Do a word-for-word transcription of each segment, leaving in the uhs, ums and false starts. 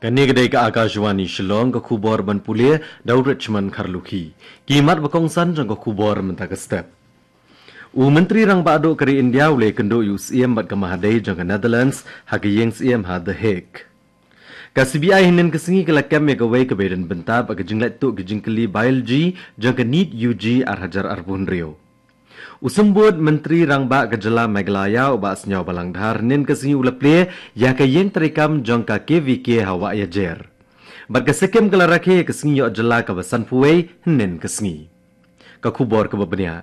Kane ka dei ka Akashvani Shillong, ka khubor ban pule da u Richmond Kharlukhi. Ki mat ba kongsan jong ka khubor mynta ka step. U Myntri Rangbah Duh ka ri India u la ïakynduh ïa u Syiem bad ka Mahadei jong ka Netherlands ha ka ïing Syiem ha The Hague. Ka C B I hynnin ka sngi ka la kem ïa kawei kaba ïadon bynta bad ka jingleit tuh ki jingkylli biology jong ka NEET U G ar hajar arphew hynriew. U Symbud Myntri Rangbah ka jylla Meghalaya u Bah Sniawbhalang Dhar hynnin ka sngi u la plie ïa ka ïing treikam jong ka K V K ha Wah Ïajer. Bad ka Sikkim ka la rakhe ïa ka sngi ïoh jylla kaba sanphew wei hynnin ka sngi. Ka khubor kaba bniah.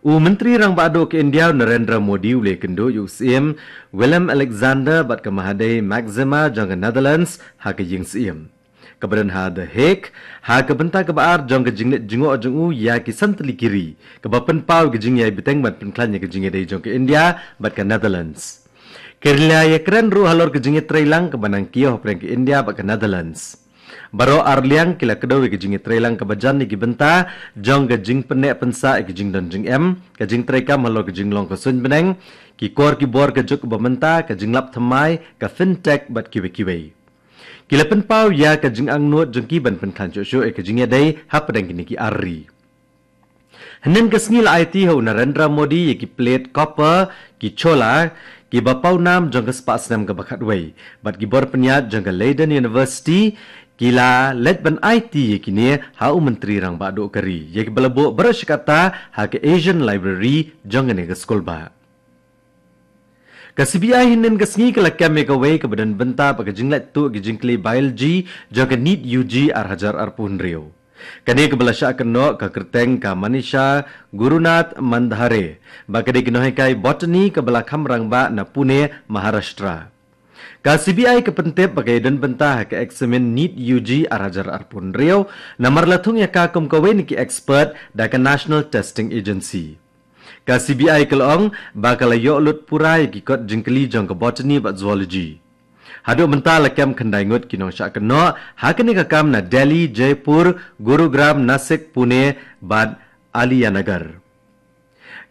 U Myntri Rangbah Duh ka India u Narendra Modi u la ïakynduh ïa u Syiem Willem Alexander bad ka Mahadei Maxima jong ka Netherlands ha ka ïing Syiem kaba don ha The Hague, ha ka bynta kaba ar jong ka jingleit jngoh jong u ïa ki san tylli ki ri, kaba pynpaw ïa ka jingïai bteng ban pynkhlaiñ ïa ka jingïadei jong ka India bad ka Netherlands. Ki la ïakren ruh halor ka jingïatreilang kaba nang kiew hapdeng ka India bad ka Netherlands. Baroh ar liang ki la kdew ïa ka jingïatreilang kaba jan ïa ki bynta jong ka jingpynneh pynsah ïa ka jingdon jingem, ka jingtreikam halor ka jinglong ka suiñ bneng, ki kor ki bor ka juk kaba mynta, ka jinglap thymmai, ka fintech bad kiwei kiwei. Ki la pynpaw ïa ka jingangnud jong ki ban pynkhlaiñ shuh shuh ïa ka jingïadei hapdeng kine ki ar ri. Hynnin ka sngi la aiti ha u Narendra Modi ïa ki plate copper, ki chola, kiba paw nam jong ka spah snem kaba khatwei bad ki bor pynïaid jong ka Leiden University, ki la leit ban aiti ïa kine ha u Myntri Rangbah Duh ka ri, ïa kiba la buh baroh shi katta ha ka Asian Library jong kane ka skulbah. Ka C B I hynnin ka sngi ka la kem ïa kawei kaba don bynta bad ka jingleit tuh ki jingkylli biology jong ka NEET U G ar hajar arphew hynriew. Kane kaba la shah kynnoh ka kyrteng ka Manisha Gurunath Mandhare, ba ka dei ka nonghikai botany kaba la kham rangbah na Pune, Maharashtra. Ka C B I ka pyntip ba ka ïadon bynta ha ka eksamin NEET U G ar hajar arphew hynriew, namar la thung ïa ka kum kawei na ki expert da ka National Testing Agency. Ka C B I ka la ong ba ka la ïoh lut pura ïa ki kot jingkylli jong ka botany bad zoology. Haduh mynta la kem khyndai ngut ki nongshah kynnoh ha kane ka kam na Delhi, Jaipur, Gurugram, Nasik, Pune bad Ahmednagar.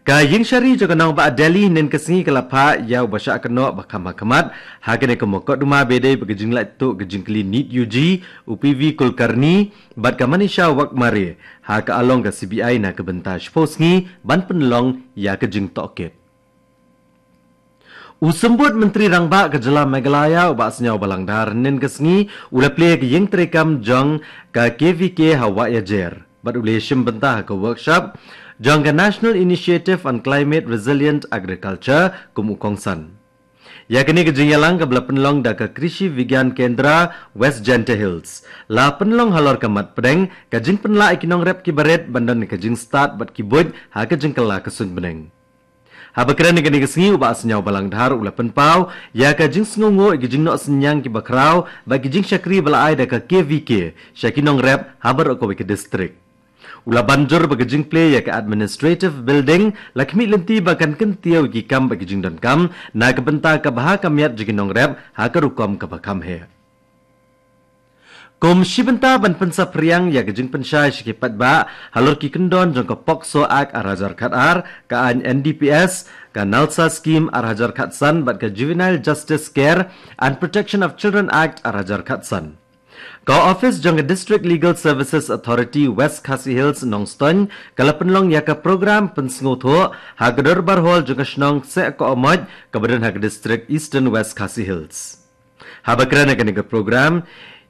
Ka ïing shari jong ka nongbah Delhi hynnin ka sngi ka la phah ïa uba shah kynnoh ba kham hakhmat ha kane ka mukotduma ba ïadei bad ka jingleit tuh ka jingkylli NEET U G, u P V Kulkarni bad ka Manisha Waghmare ha ka along ka C B I na ka bynta shiphew sngi ban pynlong ïa ka jingtohkit. U Symbud Myntri Rangbah ka jylla Meghalaya u Bah Sniawbhalang Dhar hynnin ka sngi u la plie ïa ka ïing treikam jong ka K V K ha Wah Ïajer bad u la ïashim bynta ha ka workshop jong ka National Initiative on Climate Resilient Agriculture kum u kongsan. Ïa kane ka jingïalang kaba la pynlong da ka Krishi Vigyan Kendra West Jaintia Hills la pynlong halor ka mat pdeng ka jingpynlah ïa ki nongrep kiba rit ban don ka jingstad bad ki buit ha ka jingkylla ka suiñ bneng. Haba kren ha kane ka sngi u Bah Sniawbhalang Dhar u la pynpaw ïa ka jingsngewnguh ïa ki jingnoh synñiang kiba khraw bad ki jingshakri ba la ai da ka K V K sha ki nongrep ha baroh kawei ka district. U la ban jur ba ka jingplie ïa ka administrative building la khmih lynti ba kan kyntiew ïa ki kam bad ki jingdonkam na ka bynta ka bha ka miat jong ki nongrep ha ka rukom kaba kham heh. Kum shi bynta ban pynsaphriang ïa ka jingpynshai sha ki paidbah halor ki kyndon jong ka POCSO Act ar hajar khatar, ka aiñ N D P S, ka NALSA Scheme ar hajar khatsan bad ka Juvenile Justice Care and Protection of Children Act ar hajar khatsan, ka ophis jong ka District Legal Services Authority West Khasi Hills Nongstoiñ ka la pynlong ïa ka program pynsngewthuh ha ka Dorbar Hall jong ka shnong Seh Kohmoj kaba don ha ka district Eastern West Khasi Hills. Haba kren ha kane ka program,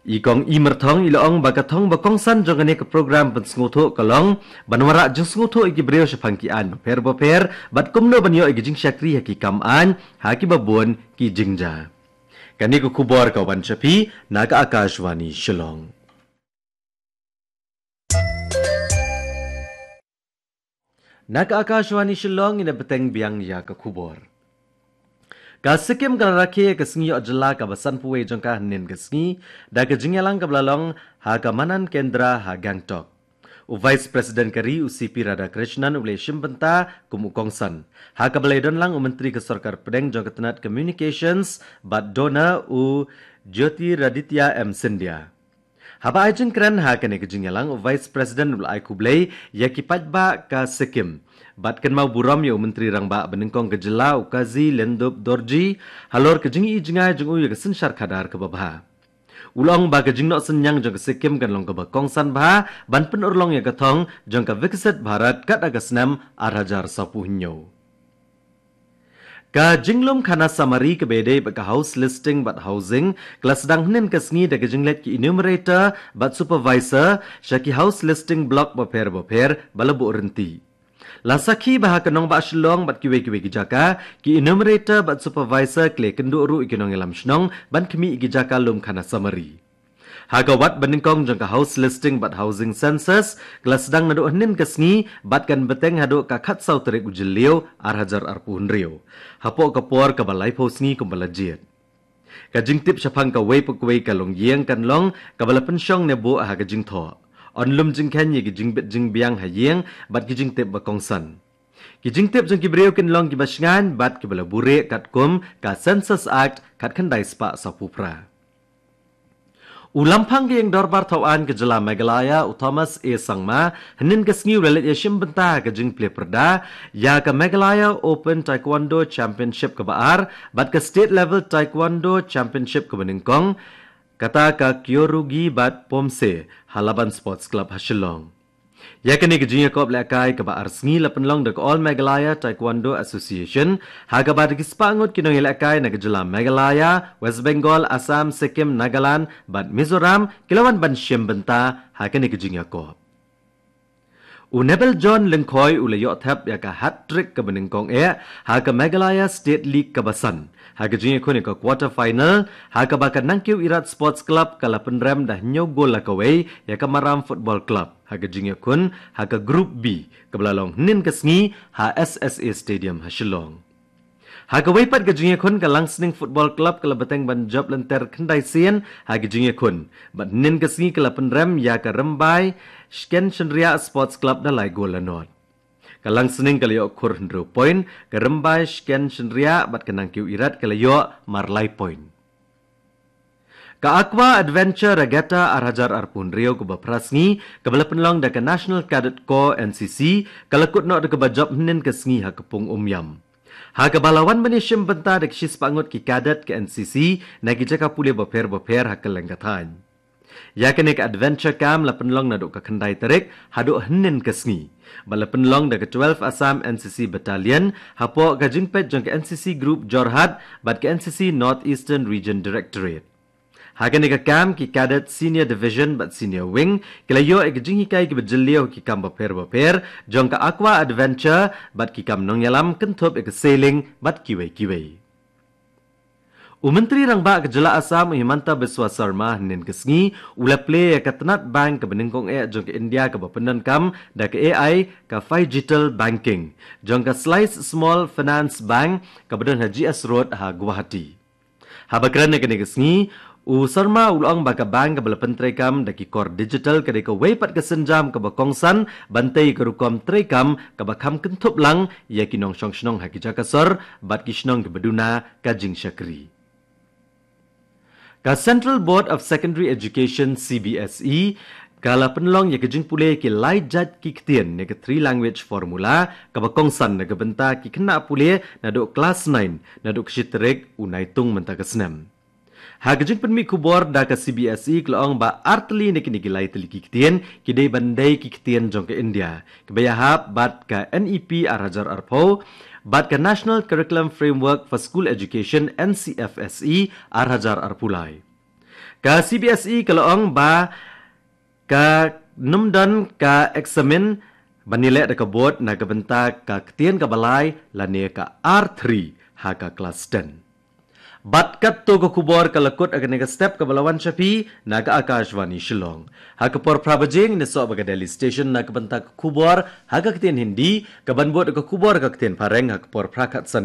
i Kong I Myrthong i la ong ba ka thong ba kongsan jong kane ka program pynsngewthuh ka long ban wanrah jingsngewthuh ïa ki briew shaphang ki aiñ bapher bapher bad kumno ban ïoh ïa ki jingshakri ha ki kam aiñ ha kiba bun ki jingjia. Kane ka khubor ka wan sha phi na ka Akashvani Shillong. Na ka Akashvani Shillong, ngin ïa bteng biang ïa ka khubor. Ka Sikkim ka la rakhe ïa ka sngi ïoh jylla kaba sanphew wei jong ka hynnin ka sngi da ka jingïalang kaba la long ha ka Manan Kendra ha Gangtok. U Vice President ka ri u C P Radhakrishnan u la ïashim bynta kum u kongsan, ha kaba la ïadon lang u Myntri ka Sorkar Pdeng jong ka tnat Communications bad DoNER u Jyotiraditya M Scindia. Haba ai jingkren ha kane ka jingïalang, u Vice President u la ai khublei ïa ki paidbah ka Sikkim bad kynmaw burom ïa u Myntri Rangbah ba nyngkong ka jylla u Kazi Lhendup Dorji halor ka jingïohi jngai jong u ïa ka synshar khadar kaba bha. U la ong ba ka jingnoh synñiang jong ka Sikkim kan long kaba kongsan bha ban pynurlong ïa ka thong jong ka Viksit Bharat kat ha ka snem ar hajar saphew hynñiew. Ka jinglum khana samari kaba ïadei bad ka house listing bad housing ka la sdang hynnin ka sngi da ka jingleit ki enumerator bad supervisor sha ki house listing block bapher bapher ba la buh rynti. La sakhi ba ha ka nongbah Shillong bad kiwei kiwei ki jaka, ki enumerator bad supervisor ki la ïakynduh ruh ïa ki nongïalam shnong ban khmih ïa ki jaka lum khana samari. Ha ka wat banyngkong jong ka house listing bad housing census ka la sdang naduh hynnin ka sngi bad kan bteng haduh ka khatsaw tarik u Jylliew ar hajar arphew hynriew, hapoh ka por kaba laiphew sngi kumba la jied. Ka jingtip shaphang kawei pa kawei ka longïing kan long kaba la pynshong ne buh ha ka jingthoh. Yn lum jingkheiñ ïa ka jingbit jingbiang ha ïing bad ki jingtip ba kongsan. Ki jingtip jong ki briew kin long kiba shngaiñ bad kiba la buhrieh katkum ka Census Act khatkhyndai spah sawphew phra. U Lamphang ka Ïing Dorbar Thawaiñ ka Jylla Meghalaya, u Thomas A Sangma, hynnin ka sngi u la leit ïashim bynta ha ka jingplie pyrda ïa ka Meghalaya Open Taekwondo Championship kaba ar bad ka State Level Taekwondo Championship kaba nyngkong, kata ka Kyorugi bad Pomse ha Laban Sports Club ha Shillong. Ïa kane ka jingïakop lehkai kaba ar sngi la pynlong da ka All Meghalaya Taekwondo Association, ha kaba da ki spah ngut ki nongïalehkai na ka Jylla Meghalaya, West Bengal, Assam, Sikkim, Nagaland bad Mizoram ki la wan ban shim bynta ha kane ka jingïakop. U Nebel John Lyngkhoi u la ïoh thep ïa ka hat-trick kaba nyngkong eh ha ka Meghalaya State League kaba san ha ka jingïakhun ïa ka quarter final, ha kaba ka Nangkiew Irat Sports Club ka la pynrem da hynñiew gol la kawei ïa ka Maram Football Club ha ka jingïakhun ha ka Group B kaba la long hynnin ka sngi ha S S A Stadium ha Shillong. Ha kawei pat ka jingïakhun, ka Langsning Football Club ka la bteng ban jop lynter khyndai sien ha ka jingïakhun bad hynnin ka sngi ka la pynrem ïa ka Rymbai Shken Shynriah Sports Club da lai gol la nod. Ka Langsning ka la ïoh khur hynriew point, ka Rymbai Shken Shynriah bad ka Nangkiew Irat ka la ïoh mar lai point. Ka Aqua Adventure Regatta ar hajar arphew hynriew kaba phra sngi kaba la pynlong da ka National Cadet Corps, N C C, ka la kut noh da kaba jop hynnin ka sngi ha ka pung Umiam, ha kaba la wan ban ïashim bynta da ki shispah ngut ki cadet ka N C C na ki jaka pule bapher bapher ha kylleng ka thaiñ. Ïa kane ka Adventure Camp la pynlong naduh ka khyndai tarik haduh hynnin ka sngi bad la pynlong da ka twelve Assam N C C Battalion hapoh ka jingpeit jong ka N C C Group Jorhat bad ka N C C North Eastern Region Directorate. Ha kane ka camp, ki cadet Senior Division bad Senior Wing ki la ïoh ïa ka jinghikai kaba jylliew ha ki kam bapher bapher jong ka Aqua Adventure bad ki kam nongïalam kynthup ïa ka sailing bad kiwei kiwei. U Myntri Rangbah ka Jylla Assam, u Himanta Biswa Sarma, hynnin ka sngi u la plie ïa ka tnat bank kaba nyngkong eh jong ka India kaba pyndonkam da ka A I, ka Phygital Banking, jong ka Slice Small Finance Bank kaba don ha G S Road ha Guwahati. Haba kren ha kane ka sngi, u Sarma u la ong ba ka bank kaba la pyntreikam da ki kor digital ka dei kawei pat ka sienjam kaba kongsan ban tei ïa ka rukom treikam kaba kham kynthup lang ïa ki nongshong shnong ha ki jaka sor bad ki shnong kiba duna ka jingshakri. Ka Central Board of Secondary Education, C B S E, ka la pynlong ïa ka jingpule ki lai jait ki ktien ne ka Three Language Formula kaba kongsan na ka bynta ki khynnah pule naduh klas nine naduh ka shi tarik u Naitung mynta ka snem. Ha ka jingpynmih khubor da ka C B S E ka la ong ba ar tylli na kine ki lai tylli ki ktien ki dei ban dei ki ktien jong ka India kiba ïahap bad ka N E P ar hajar arphew bad ka National Curriculum Framework for School Education, N C F S E, ar hajar arphew lai. Ka C B S E ka la ong ba kan ym don ka eksamin ban ïaleh da ka board na ka bynta ka ktien kaba lai lane ka R three ha ka klas ten. Bad katto ka khubor ka la kut ha kane ka step kaba la wan sha phi na ka Akashvani Shillong. Ha ka por phra baje ngin ïasoh bad ka Delhi Station na ka bynta ka khubor ha ka ktien Hindi, kaban bud ka khubor ha ka ktien Phareng ha ka por phra khatsan